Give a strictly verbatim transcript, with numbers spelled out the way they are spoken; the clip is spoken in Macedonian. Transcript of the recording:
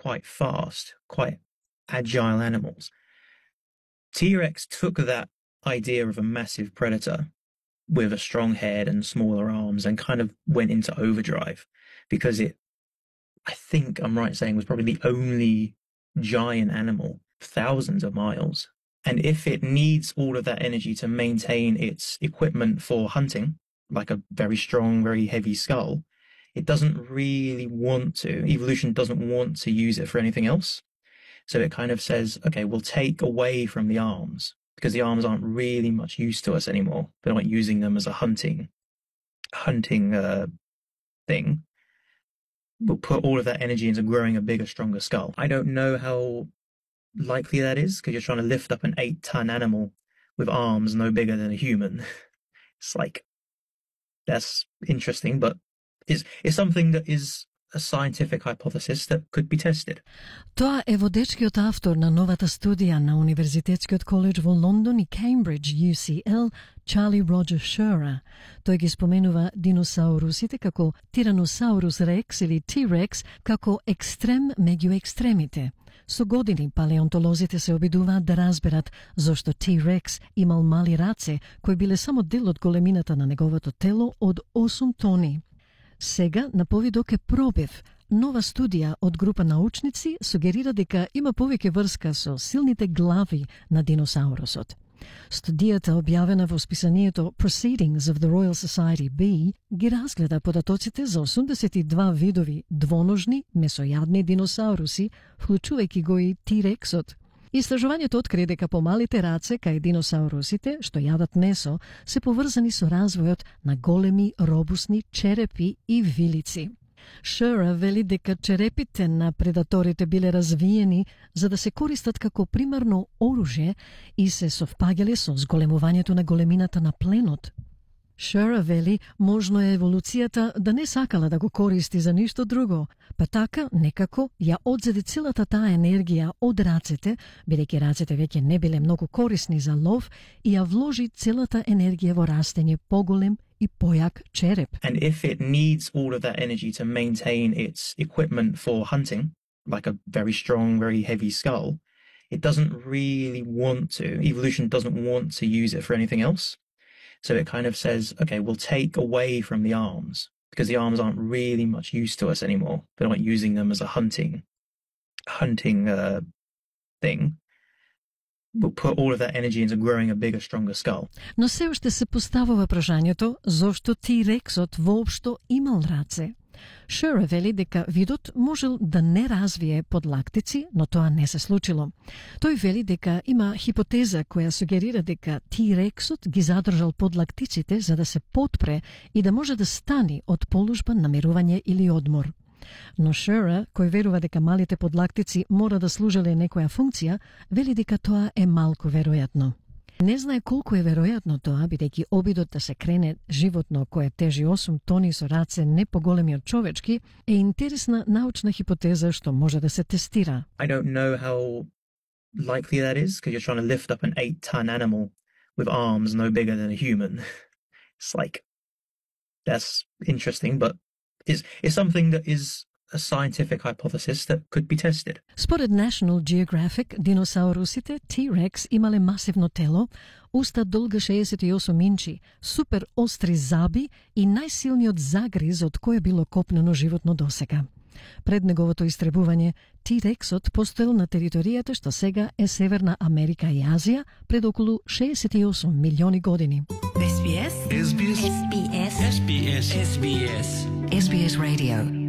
quite fast, quite agile animals. T-Rex took that idea of a massive predator with a strong head and smaller arms and kind of went into overdrive because it, I think I'm right saying, was probably the only giant animal thousands of miles. And if it needs all of that energy to maintain its equipment for hunting, like a very strong, very heavy skull, it doesn't really want to, evolution doesn't want to use it for anything else. So it kind of says, okay, we'll take away from the arms because the arms aren't really much use to us anymore. They're not using them as a hunting, hunting uh, thing. We'll put all of that energy into growing a bigger, stronger skull. I don't know how likely that is because you're trying to lift up an eight ton animal with arms no bigger than a human. It's like, that's interesting, but it's, it's something that is a scientific hypothesis that could be tested. Тоа е водечкиот автор на новата студија на Универзитетскиот коледж во Лондон и Кембридж, U C L, Charlie Roger Scherer. Тој ги споменува диносаурусите како Tyrannosaurus rex или T-Rex како екстрем меѓу екстремите. Со години палеонтолозите се обидуваат да разберат зошто T-Rex имал мали раце кои биле само дел од големината на неговото тело од осум тони. Сега на повидок е пробив. Нова студија од група научници сугерира дека има повеќе врска со силните глави на диносаурусот. Студијата, објавена во списанието Proceedings of the Royal Society B, ги разгледа податоците за осумдесет и два видови двоножни месојадни диносауруси, вклучувајќи го и T-Rexот. Истражувањето откри дека помалите раце кај диносаурусите, што јадат месо, се поврзани со развојот на големи робусни черепи и вилици. Scherer вели дека черепите на предаторите биле развиени за да се користат како примарно оружје и се совпаѓале со зголемувањето на големината на пленот. Scherer вели, можно е еволуцијата да не сакала да го користи за ништо друго, па така некако ја одзеде целата таа енергија од рацете, бидејќи рацете веќе не биле многу корисни за лов, и ја вложи целата енергија во растење поголем и појак череп. And if it needs all of that energy to maintain its equipment for hunting, like a very strong, very heavy skull, it doesn't really want to, evolution doesn't want to use it for anything else. So it kind of says, okay, we'll take away from the arms because the arms aren't really much use to us anymore. They're not using them as a hunting, hunting uh, thing. We'll put all of that energy into growing a bigger, stronger skull. Но се уште се поставува прашањето зошто T-Rexот воопшто имал раце. Scherer вели дека видот можел да не развие подлактици, но тоа не се случило. Тој вели дека има хипотеза која сугерира дека T-Rexот ги задржал подлактиците за да се потпре и да може да стани од положба на мирување или одмор. Но Scherer, кој верува дека малите подлактици мора да служеле некоја функција, вели дека тоа е малку веројатно. Не знае колку е веројатно тоа, бидејќи обидот да се крене животно кое тежи осум тони со раце не поголеми од човечки е интересна научна хипотеза што може да се тестира. I don't know how likely that is because you're trying to lift up an eight ton animal with arms no bigger than a human. It's like, that's interesting, but it's, it's something that is a scientific hypothesis that could be tested. Според National Geographic, диносаурусите T-Rex имале масивно тело, уста долга шеесет и осум инчи, супер остри заби и најсилниот загриз од кој било копнено животно досега. Пред неговото истребување, T-Rexот постоел на територијата што сега е Северна Америка и Азија пред околу шеесет и осум милиони години. S B S S B S S B S S B S S B S Radio